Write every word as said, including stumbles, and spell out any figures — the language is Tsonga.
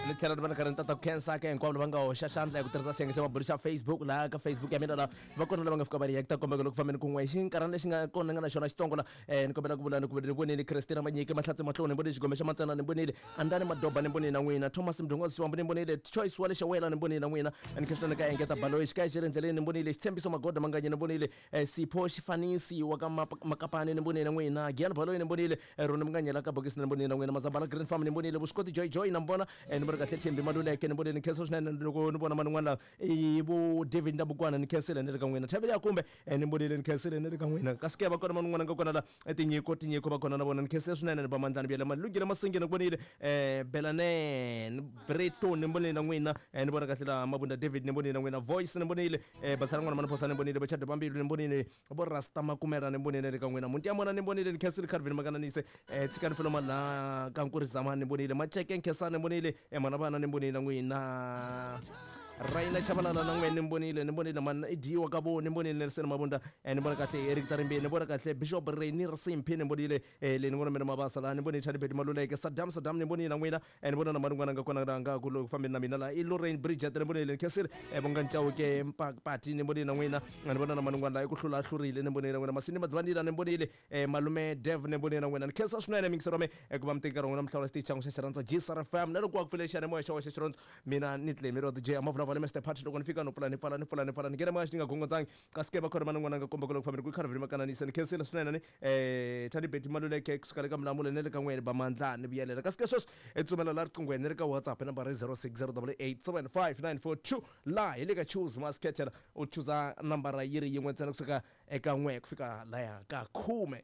Ni tlhela ni va ni karhi ni tata ku khensa ka hinkwavo lava nga hoxa xandla hi ku tirhisa xiyenge xa mabulu xa Facebook laha ka Facebook ya mina laha va kona lava nga fika va reacta kombeka loko fambeni kun'we xinkarhana lexi nga kona ni nga na xona xitsongo la eh, ni kombela ku vula ni ku ni vonile Christina Manyike Mahlatsi Matloni ni vonile Xigome xa Matsena ni vonile Andani Madoba ni vonile na n'wina Thomas Mdungozi Xiwambu ni vonile Choice wa le Xawela ni vonile na n'wina ni khensa ni ka engeta Baloyi xikaya xi ri endleleni ni vonile Xitshembiso Magoda Manganye ni vonile eh, Sipho Xifanisi wa ka Map- Makapani ni vonile na n'wina Gian Baloyi ni vonile eh, Roni Munganyela ka bokisi ni vonile na n'wina Mazambala Green Farm ni vonile Vuswikoti Joy Joy na mbona eh, ni vona kahle Thembi Maluleke ni vonile ni khensa swinene loko ni vona man'wana laha i vo David Ndabukwana ni khensile ni ri ka n'wina Thabile Yakumbe eh, ni vonile ni khensile ni ri ka n'wina kasi ke va kona man'wana nga kona la eh, tinyiko tinyiko va kona na vona ni khensile swinene ni va mandlani byele Malungile Masingi ni vonile eh, Belanen Breto ni vonile na n'wina eh, ni vona kahle la Mabunda David ni vonile na n'wina Voice ni vonile eh, Basala n'wana Maniphosa ni vonile Bachado Bambilu ni vonile vo Rasta Makumela ni vonile ni ri ka n'wina Munti ya mona ni vonile ni khensile Calvin Makananise eh, Tshikani Feloma la ka Nkurizama ni vonile Macheke Nkhensani ni vonile eh, Mana vana ni vonile na n'wina Raina Chabalala na n'wina ni vonile ni vonile mana i dyiwa ka vo ni vonile Nelson Mabunda eh, ni vona kahle Eric Tarimbe ni vona kahle Bishop Reni Rasimphi ni vonile eh, le ni vona mina Mabasa la ni vonile Charlie Maluleke Saddam Saddam ni vonile na n'wina eh, ni vona na man'wana nga kona la nga ku loko fambeni na mina la i Lorraine Bridget ni vonile ni khensile eh, Vonga Chauke Mpakpati ni vonile na n'wina ni vona na man'wana la i ku hlula hlurile ni vonile na n'wina Masini Madzivandila ni vonile eh, Malume Dev ni vonile na n'wina ni khensa swinene mingisero me eh, ku va mi teka nkarhi wa n'wina mi hlawula xitichi xa n'wina xa Xirhandza G S R F M na loko wa ku pfule xiyanimoya xa wena xa Xirhandza mina ni Clemiro D J Amavulavula Mister Party loko ni fika no pfula ni pfala ni pfula ni pfala ni nghena moya xi nga gongondzangi kasi ke va khona man'wana nga komba ku loko fambeni ku Calvin Makananisa ni khensile swinene ni eh Thandi Betty Maluleke kusuka le ka Mlamula ni le ka n'wina ba mandla ni vuyelela kasi ke sweswi i tsumela la riqinghweni ni ri ka WhatsApp nambara i zero six zero double eight seven five nine four two laha hi le ka choose masketela u chuza nambara yi ri yin'we ntsena kusuka eka n'we ku fika laya ka khume.